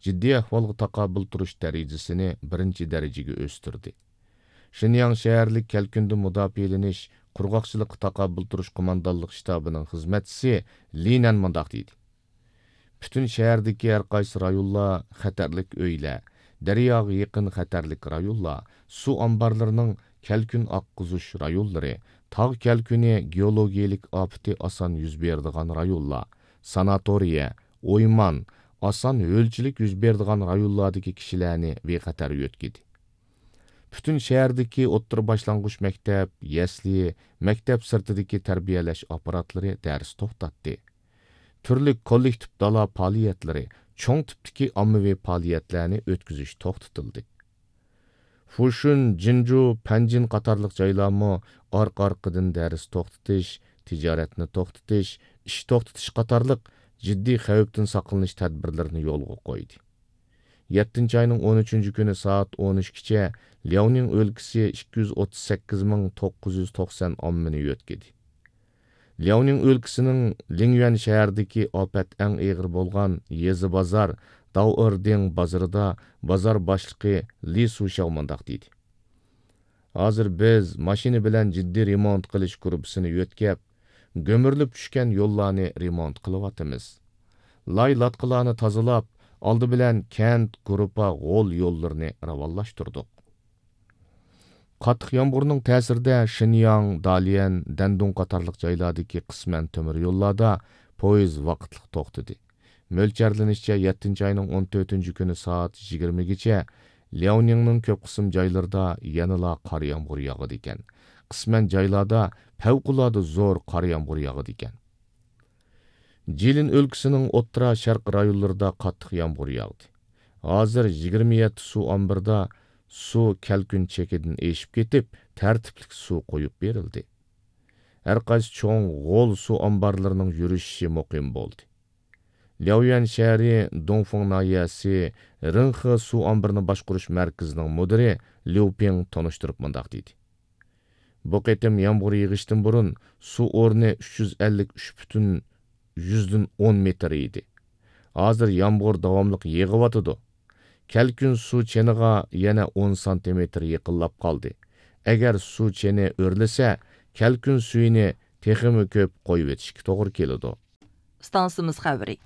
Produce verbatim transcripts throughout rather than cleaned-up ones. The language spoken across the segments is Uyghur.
جىددىي ئەھۋالغا تاقابىل تۇرۇش دەرىجىسىنى بىرىنچى دەرىجىگە ئۆستۈردى. شېنياڭ شەھەرلىك كەلكۈندىن مۇداپىئەلىنىش، قۇرغاقچىلىققا تاقابىل تۇرۇش قوماندانلىق شتابىنىڭ خىزمەتچىسى لى نەن مۇنداق دېدى: پۈتۈن شەھەردىكى ھەر قايسى رايونلار، خەتەرلىك ئۆيلەر، دەرياغا يېقىن خەتەرلىك رايونلار، سۇ ئامبارلىرىنىڭ كەلكۈن ئاققۇزۇش رايونلىرى، تاغ كەلكۈنى گېئولوگىيەلىك ئاپىتى ئاسان يۈز بېرىدىغان رايونلار، ساناتورىيە، ئويمان، ئاسان ھۆلچىلىك يۈز بېرىدىغان رايونلاردىكى كىشىلەرنى بىخەتەر يۆتكىدى. پۈتۈن شەھەردىكى ئوتتۇرا باشلانغۇچ مەكتەپ، يەسلى، مەكتەپ سىرتىدىكى تەربىيەلەش ئاپپاراتلىرى دەرس توختاتتى. تۈرلۈك كوللېكتىپ دالا پائالىيەتلىرى، چوڭ تىپتىكى ئاممىۋى پائالىيەتلەرنى ئۆتكۈزۈش توختىتىلدى. فۇشۈن، جىنجۇ، پەنجىن قاتارلىق جايلارمۇ ئارقا-ئارقىدىن دەرس توختىتىش، تىجارەتنى توختىتىش، ئىش توختىتىش قاتارلىق جىددىي خەۋپتىن ساقلىنىش تەدبىرلىرىنى يولغا قويدى. يەتتىنچى ئاينىڭ ئون ئۈچىنچى كۈنى سائەت ئون ئۈچكىچە لياۋنىڭ ئۆلكىسى ئىككى يۈز ئوتتۇز سەككىز مىڭ توققۇز يۈز توقسان ئاممىنى يۆتكىدى. لياۋنىڭ ئۆلكىسىنىڭ لىڭيۈەن شەھىرىدىكى ئاپەت ئەڭ ئېغىر بولغان يېزا بازار داۋئېردىڭ بازىرىدا بازار باشلىقى لى سۇشياۋ مۇنداق دېدى: ھازىر بىز ماشىنا بىلەن جىددىي رېمونت قىلىش گۇرۇپپىسىنى يۆتكەپ، گۈمۈرۈلۈپ چۈشكەن يوللارنى رېمونت قىلىۋاتىمىز. لاي لاتقىلارنى تازىلاپ، ئالدى بىلەن كەنت، گۇرۇپپا، غول يوللىرىنى راۋانلاشتۇردۇق. قاتتىق يامغۇرنىڭ تەسىرىدە شېنياڭ، داليەن، دەندۇڭ قاتارلىق جايلاردىكى قىسمەن تۆمۈر يوللاردا پويىز ۋاقىتلىق توختىدى. مۆلچەرلىنىشىچە، يەتتىنچى ئاينىڭ ئون تۆتىنچى كۈنى سائەت يىگىرمىگىچە لياۋنىڭنىڭ كۆپ قىسىم جايلىرىدا يەنىلا قار يامغۇر ياغىدىكەن. قىسمەن جايلاردا پەۋقۇلئاددە زور قار يامغۇر ياغىدىكەن. جىلىن ئۆلكىسىنىڭ ئوتتۇرا شەرق رايونلىرىدا قاتتىق يامغۇر ياغدى. ھازىر يىگىرمە يەتتە سۇ ئامبىرىدا سۇ كەلكۈن چېكىدىن ئېشىپ كېتىپ، تەرتىپلىك سۇ قويۇپ بېرىلدى. ھەر قايسى چوڭ غول سۇ ئامبارلىرىنىڭ يۈرۈشۈشى مۇقىم بولدى. لياۋيۈەن شەھىرى دۇڭفېڭ ناھىيەسى رېڭخې سۇ ئامبىرىنى باشقۇرۇش مەركىزىنىڭ مۇدىرى ليۇ پىڭ تونۇشتۇرۇپ مۇنداق دېدى: بۇ قېتىم يامغۇر يېغىشتىن بۇرۇن سۇ ئورنى ئۈچ يۈز ئەللىك ئۈچ پۈتۈن يۈزدىن ئون مېتىر ئىدى. ھازىر يامغۇر داۋاملىق يېغىۋاتىدۇ. كەلكۈن سۇ چېنىغا يەنە ئون سانتىمېتىر يېقىنلاپ قالدى. ئەگەر سۇ چېنى ئۆرلىسە، كەلكۈن سۈيىنى تېخىمۇ كۆپ قويۇۋېتىشكە توغرا كېلىدۇ. ئىستانسىمىز خەۋىرى.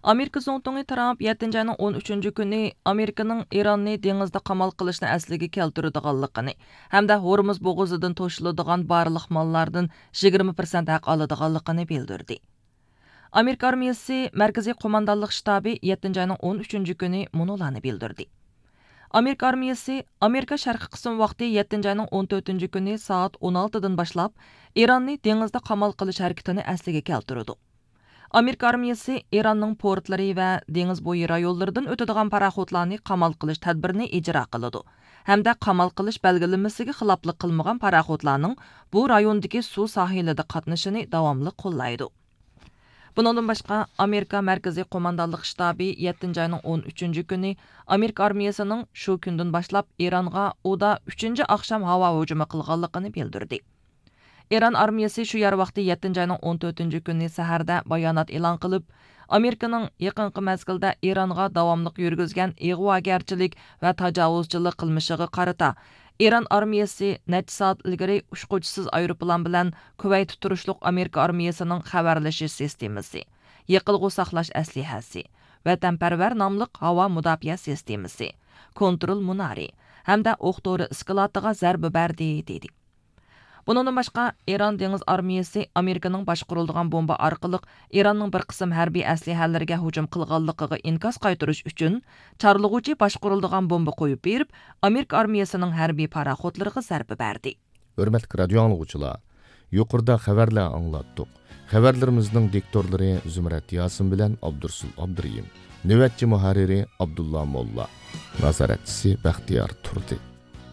ئامېرىكا زۇڭتۇڭى ترامپ يەتتىنچى ئاينىڭ ئون ئۈچىنچى كۈنى ئامېرىكىنىڭ ئىراننى دېڭىزدا قامال قىلىشنى ئەسلىگە كەلتۈرىدىغانلىقىنى ھەمدە ھورمۇز بوغۇزىدىن توشۇلىدىغان بارلىق ماللاردىن يىگىرمە پىرسەنت ھەق ئالىدىغانلىقىنى بىلدۈردى. ئامېرىكا ئارمىيىسى مەركىزىي قوماندانلىق شتابى يەتتىنچى ئاينىڭ ئون ئۈچىنچى كۈنى مۇنۇلارنى بىلدۈردى. ئامېرىكا ئارمىيىسى ئامېرىكا شەرقىي قىسىم ۋاقتى يەتتىنچى ئاينىڭ ئون تۆتىنچى كۈنى سائەت ئون ئالتىدىن باشلاپ ئىراننى دېڭىزدا قامال قىلىش ھەرىكىتىنى ئەسلىگە كەلتۈرىدۇ. ئامېرىكا ئارمىيىسى ئىراننىڭ پورتلىرى ۋە دېڭىز بويى رايونلىرىدىن ئۆتىدىغان پاراخوتلارنى قامال قىلىش تەدبىرىنى ئىجرا قىلىدۇ ھەمدە قامال قىلىش بەلگىلىمىسىگە خىلاپلىق قىلمىغان پاراخوتلارنىڭ بۇ رايوندىكى سۇ ساھىلىدا قاتنىشىنى داۋاملىق قوللايدۇ. بۇنىڭدىن باشقا، ئامېرىكا مەركىزىي قوماندانلىق شتابى يەتتىنچى ئاينىڭ ئون ئۈچىنچى كۈنى ئامېرىكا ئارمىيىسىنىڭ شۇ كۈندىن باشلاپ ئىرانغا ئۇدا ئۈچىنچى ئاخشام ھاۋا ھۇجۇمى قىلغانلىقىنى بىلدۈردى. ئىران ئارمىيىسى شۇ يەر ۋاقتى يەتتىنچى ئاينىڭ ئون تۆتىنچى كۈنى سەھەردە بايانات ئېلان قىلىپ، ئامېرىكىنىڭ يېقىنقى مەزگىلدە ئىرانغا داۋاملىق يۈرگۈزگەن ئىغۋاگەرچىلىك ۋە تاجاۋۇزچىلىق قىلمىشىغا قارىتا، ئىران ئارمىيىسى نەچچە سائەت ئىلگىرى ئۇچقۇچىسىز ئايروپىلان بىلەن كۇۋەيتتە تۇرۇشلۇق ئامېرىكا ئارمىيىسىنىڭ خەۋەرلىشىش سىستېمىسى، يېقىلغۇ ساقلاش ئەسلىھەسى، ۋەتەنپەرۋەر ناملىق ھاۋا مۇداپىئە سىستېمىسى، كونترول مۇنارى ھەمدە ئوق تورى ئىسكىلاتىغا زەربە بەردى، دېدى. بۇنىڭدىن باشقا، ئىران دېڭىز ئارمىيىسى ئامېرىكىنىڭ باشقۇرۇلىدىغان بومبا ئارقىلىق ئىراننىڭ بىر قىسىم ھەربىي ئەسلىھەلىرىگە ھۇجۇم قىلغانلىقىغا ئىنكاس قايتۇرۇش ئۈچۈن، چارلىغۇچى باشقۇرۇلىدىغان بومبا قويۇپ بېرىپ، ئامېرىكا ئارمىيىسىنىڭ ھەربىي پاراخوتلىرىغا زەربە بەردى. ھۆرمەتلىك رادىئو ئاڭلىغۇچىلار، يۇقىرىدا خەۋەرلەر ئاڭلاتتۇق. خەۋەرلىرىمىزنىڭ دىكتورلىرى زۇمرەت ياسىن بىلەن ئابدۇرسۇل ئابدۇرېھىم. نۆۋەتچى مۇھەررىرى ئابدۇللا موللا. نازارەتچىسى بەختىيار تۇردى.